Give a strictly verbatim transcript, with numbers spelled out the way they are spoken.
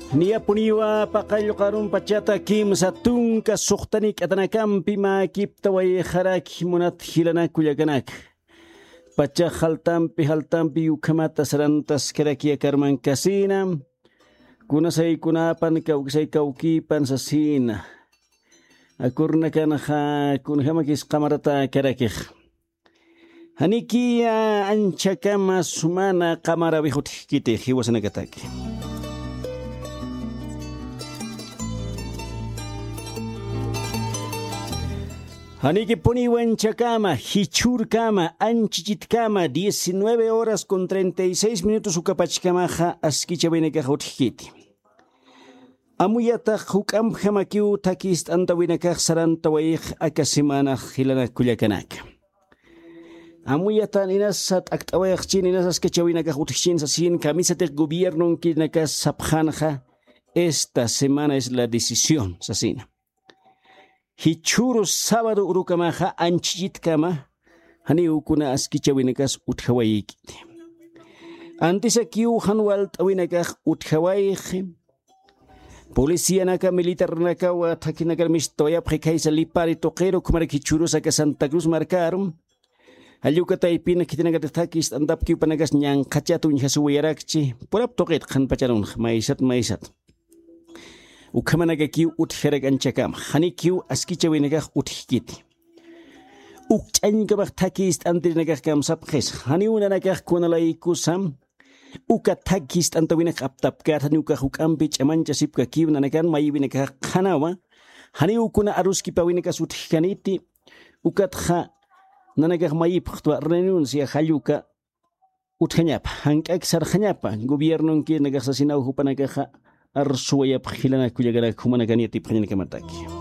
Niyapuniwa paqallqarun pachata kimsa tunka suxtanik atanakampi mäkiptawayxaraki munat jilanak kullakanaka. Pacha jaltampi jaltampi ukhamata sarantaskaraki akarmankasina. Kunasaykunapan kawkisay kawkipan sasina. Akurnakanxa kunjamakis qamarata karakix. Janiki anchakama sumana qamarawix utjkiti jiwasanakataki. Janikipuniw anchakama jichhurkama anchichitkama diecinueve horas con treinta y seis minutos ukapachkamaxa askichawinakax utjkiti. Amuyatax juk'ampjamakiw thakist'antawinakax sarantawayix aka semanax jilanak kullakanaka. Amuyatan inasa t'akt'awayxchin inasa askachawinakax utjchin sasin kamisatix gobiernonkinakax sapxanxa. Esta semana es la decisión sasina. Jichhuru sábado urukamaxa anchhichitkama janiw kuna askichawinakas utjawayikiti. Antisakiw jan walt'awinakax utjawayxi. Policianaka militarnakawa thakhinakar mistawayapxi khaysa lipari tuqiru khumarak jichhurusaka santa cruz markaru. Jalluka taypina khitinakatix thakist'antapkiw panakas ñanqhachat uñjasuwayarakchi purap tuqit qhanpacharunx maysat maysat. Ukhamanakakiw utjarak anchakama janikiw askichawinakax utjkiti. Ukch'añkamax thakist'antirinakax kamsapxis janiw nanakax kunalaykusam. Uka thakist'antawinakax aptapkät janiw ukax juk'ampi ch'amañchasipkakiw nanakan mayiwinakax qhanawa. Janiw kuna aruskipawinakax utjkaniti. Ukatxa nanakax mayipxtwa renuncia jalluka utjañapa jank'ak sarxañapa. Gobiernonkinakax sasinaw jupanakaxa arsuwayapx jilanak kullakanak jumanakan yatipxañanakamataki.